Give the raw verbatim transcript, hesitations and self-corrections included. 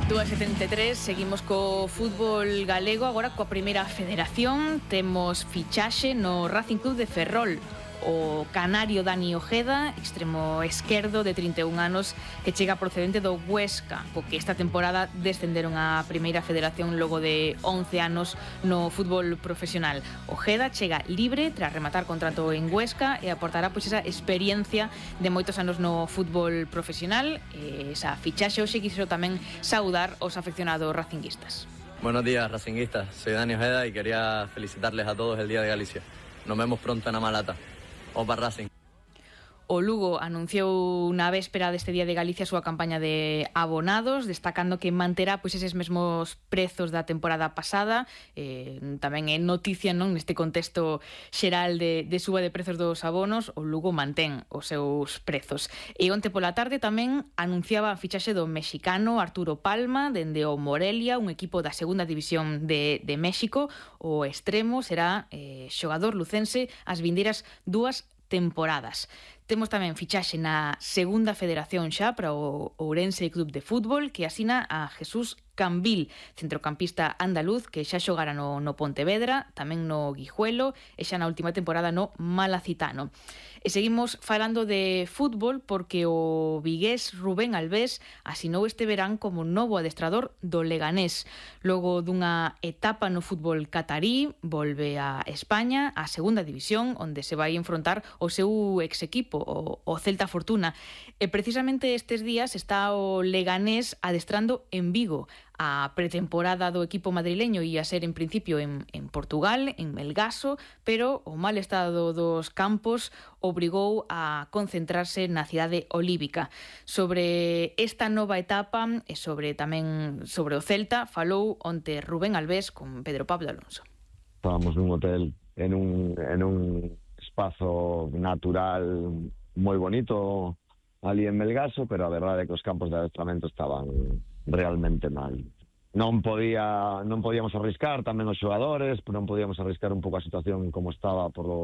dúas e setenta e tres, seguimos co fútbol galego, agora coa primeira federación. Temos fichaxe no Racing Club de Ferrol. O canario Dani Ojeda, extremo esquerdo de trinta e un anos, que chega procedente do Huesca, co que esta temporada descenderon á primeira federación logo de once anos no fútbol profesional. Ojeda chega libre tras rematar contrato en Huesca e aportará pois esa experiencia de moitos anos no fútbol profesional. E esa fichaxe hoxe quixo tamén saudar os afeccionados racinguistas. Buenos días, racinguistas. Soy Dani Ojeda y quería felicitarles a todos el Día de Galicia. Nos vemos pronto en Amalata. Opa Racing. O Lugo anunciou na véspera deste Día de Galicia a súa campaña de abonados, destacando que manterá pois eses mesmos prezos da temporada pasada. Eh, tamén é noticia, non, neste contexto xeral de, de suba de prezos dos abonos. O Lugo mantén os seus prezos. E onte pola tarde tamén anunciaba a fichaxe do mexicano Arturo Palma dende o Morelia, un equipo da segunda división de, de México. O extremo será eh, xogador lucense as vindeiras dúas temporadas. Temos tamén fichaxe na segunda federación xa para o Ourense Club de Fútbol, que asina a Jesús Cambil, centrocampista andaluz que xa xogara no, no Pontevedra, tamén no Guijuelo e xa na última temporada no Malacitano. E seguimos falando de fútbol porque o vigués Rubén Albés asinou este verán como novo adestrador do Leganés. Logo dunha etapa no fútbol catarí, volve a España, a segunda división, onde se vai enfrontar o seu ex equipo, o, o Celta Fortuna. E precisamente estes días está o Leganés adestrando en Vigo. A pretemporada do equipo madrileño ia ser en principio en, en Portugal, en Melgaso, pero o mal estado dos campos obrigou a concentrarse na cidade olívica. Sobre esta nova etapa e sobre tamén sobre o Celta falou onte Rubén Albés con Pedro Pablo Alonso. Estábamos nun hotel en un, en un espazo natural moi bonito ali en Melgaso, pero a verdade é que os campos de adestramento estaban realmente mal. Non podía, non podíamos arriscar tamén os xogadores, non podíamos arriscar un pouco a situación como estaba por o,